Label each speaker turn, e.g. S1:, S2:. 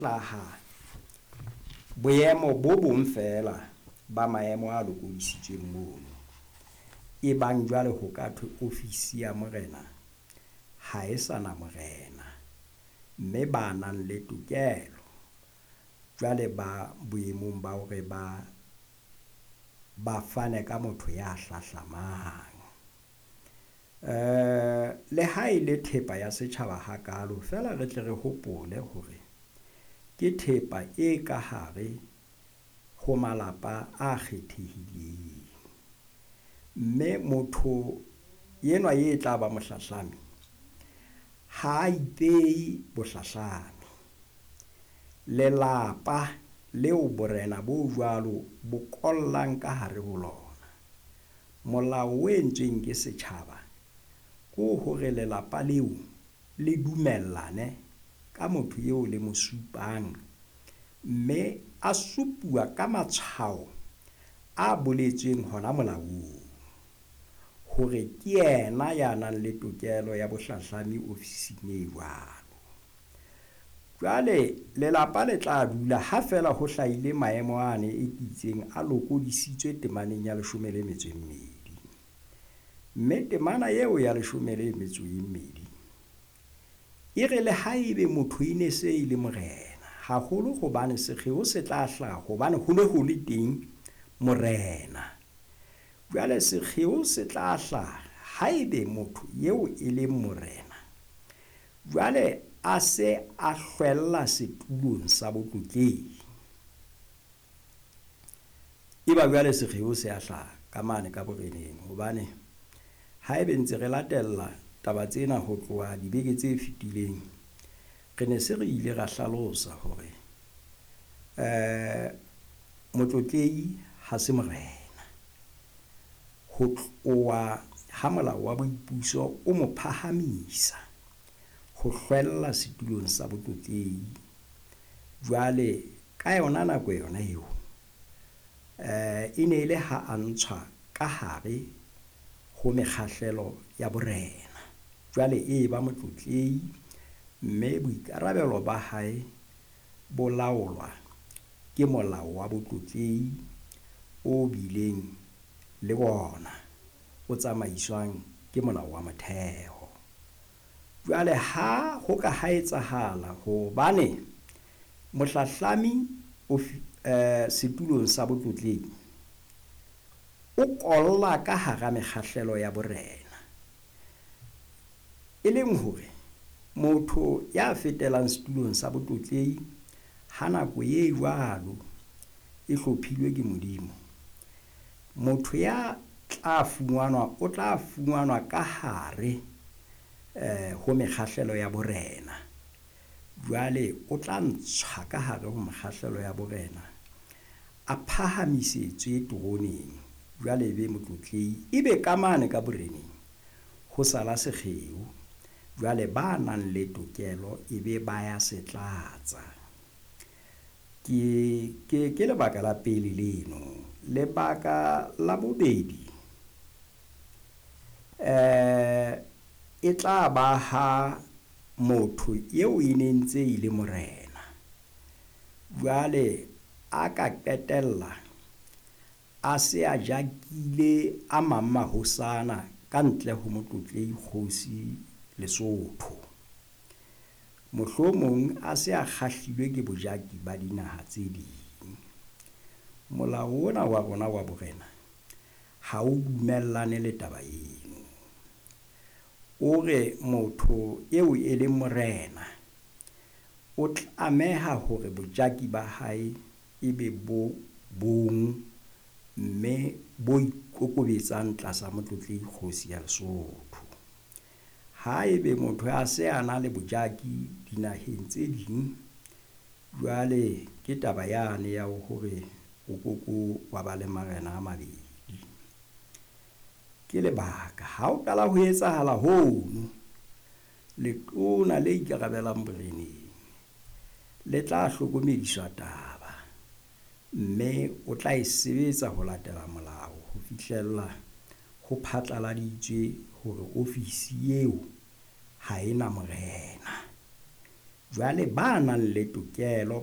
S1: Hlaha boemo bo bong feela ba maemo a lokodisitsweng mono. E bang jwale ho ka thwe ofisi ya morena ha e sa na morena, mme ba nang le tokelo jwale ba boemong ba hore ba fane ka motho ya hlahlamang. Le ha e le thepa ya setjhaba hakalo, feela re tle re hopole hore ke thepa e ka hare ho malapa a kgethehileng. Mme motho enwa e tla ba mohlahlami ha a ipehe bohlahlami. Lelapa leo borena bo jwalo bo kollang ka hare ho lona. Molao o entsweng ke setjhaba ke hore lelapa leo le dumellane ka motho eo le mo supang, mme a supuwa ka matshwao a boletsweng hona molaong hore ke yena ya nang le tokelo ya bohlahlami ofising e jwalo. Jwale lelapa le tla dula ha feela ho hlahile maemo ane e ke itseng a lokodisitswe temaneng ya leshome le metso e mmedi. Mme temana eo ya leshome le metso e mmedi e re le haebe motho e ne se e le morena, haholo hobane sekgeo se tla hlaha hobane ho ne ho le teng morena. Jwale sekgeo se tla hlaha haebe motho eo e leng morena jwale a se a hlwella setulong sa botlotlehi. Eba jwale sekgeo se a hlaha ka mane ka boreneng hobane haebe ntse re latella taba tsena ho tloha dibeke tse fetileng, re ne se re ile ra hlalosa hore motlotlehi ha se morena. Ho tloha ha molao wa boipuso o mo phahamisa ho hlwella setulong sa botlotlehi. Jwale ka yona nako yona eo, e ne le ha a ntshwa ka hare ho mekgahlelo ya borena. Jwale e ba motlotlehi, mme boikarabelo ba hae bo laolwa ke molao wa botlotlehi o bileng le ona o tsamaiswang ke molao wa motheo. Jwale ha ho ka ha etsahala hobane mohlahlami setulong sa botlotlehi o kolla ka hara mekgahlelo ya borena, e leng hore motho ya fetelang setulong sa botlotlehi ha nako e jwalo e hlophilwe ke Modimo, motho ya tla fumanwa o tla fumanwa ka hare ho mekgahlelo ya borena. Jwale o tla ntshwa ka hare ho mekgahlelo ya borena, a phahamisetswe teroneng, jwale e be motlotlehi, ebe ka mane ka boreneng ho sala sekgeo. Jwale ba nang le tokelo e be ba ya se tlatsa. Ke lebaka la pele leno. Lebaka la bobedi, e tla ba ha motho eo e ne ntse e le morena jwale a ka qetella a se a jakile a mang mahosana ka ntle ho motlotlehi kgosi Lesotho. Mohlomong a se a kgahlilwe ke bojaki ba dinaha tse ding. Molao ona wa rona wa borena ha o dumellane le taba eno. O re motho eo e leng morena o tlameha hore bojaki ba hae ebe bo bong mme bo ikokobetsang tlasa motlotlehi kgosi ya Lesotho. Haebe motho a se a na le bojaki dinaheng tse ding, jwale ke taba yane ya hore o koko wa ba le marena a mabedi. Ke lebaka ha o qala ho etsahala hono, letona le ikarabelang boreneng le tla hlokomediswa taba, mme o tla e sebetsa ho latela molao ho fihlella ho phatlaladitswe hore ofisi eo ha e na morena. Jwale ba nang le tokelo